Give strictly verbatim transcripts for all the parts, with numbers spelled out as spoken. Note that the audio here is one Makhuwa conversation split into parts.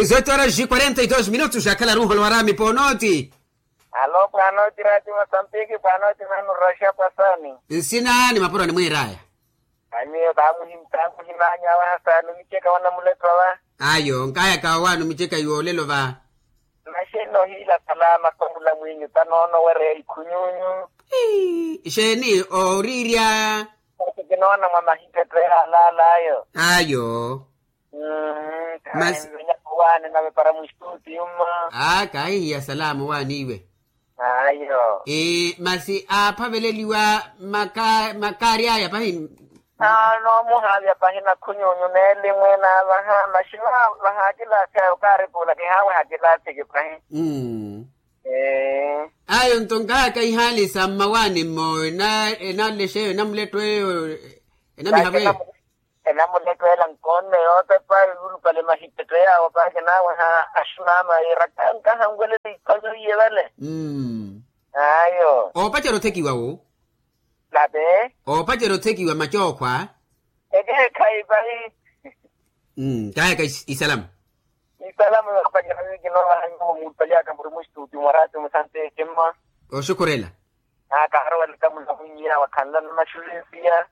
Zete horas e quarenta e dois minutos akhala ruholo warami ponoti. Alo pwanoti rati masambiki pwanoti manu rasha pasani. Nsina ni mapuro ni mwiraya. Amiyo tamuhimanya wahasani micheka wana muletwa wa. Ayo nkaya kawawanu micheka yuwolelo va. Naxenno hiila salama sohula mwinyu tanoono wereya ikhunyunyu. Ixeeni orirya. Kinoona mwa mahittetteya alaalayo. Ayo. Masi kahihiya salama owaani iwe. Ayo. Masi aaphaveleliwa makaari aya pahi. Noomuhaavya pahi nakhunyunyu neelimwe naavaha maxi vahaakilaasi ayo okaarikuula kihaaweha kilaasiki pahi. Ayo nto nkahaka ihaali sa mmawaani mmo enalexeyo enamuletweyo enamihavo eyo. Enamuletweela nkoonne yootepa yulupale mahittetteya awo pahi kinaaweha aximama yiira kankaha nkwelele ikhonyo iye vale. Ayo. Oopacerya othekiwa wo. Late. Oopacerya othekiwa macookhwa. Ekeekhayi pahi. Kaayaka isalama. Isalama yoopacerya wi kinoovaha nyuwo muulupale aka muri mustuti mwa rati musanteeke mma. Oxukhurela. Naakaharowelaka munamunyiya wakhanlana maxulensiya.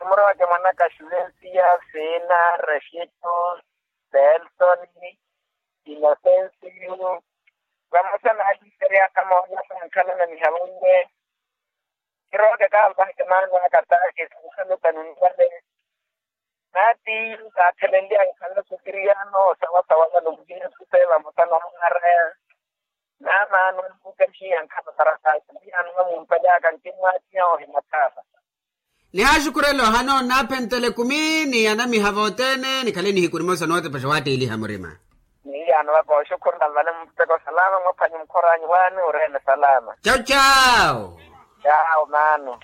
Muro wake mwanaka xulensiya sina rexeto pelsoni inosensiyu. Vamosa naaliseryaka moona sankhalana nihavanwe. Kiroke kampaheke maano aka taake sankhalukani nivale. Naatiiyu kaatthelenly'aya okhala sukiriyano osawasawa vano muhiya supe vamosa na mwaaraya. Naamaano anmukaxiya nkhapatarasaaxiliyano vamumpaly'aka nkimmwaatiha ohimathaasa. Nihaaxukhurela ohana onaaphentela ekumi ni anamiha vothene nikhale nihiku nimosa nootepaxa owaatteeliha murima. Nihiyaano vaka oxukhurela nvale muteko salama mwaphwanyi mukhor'anyu waani oreene salama. Cau cau. Cau maano.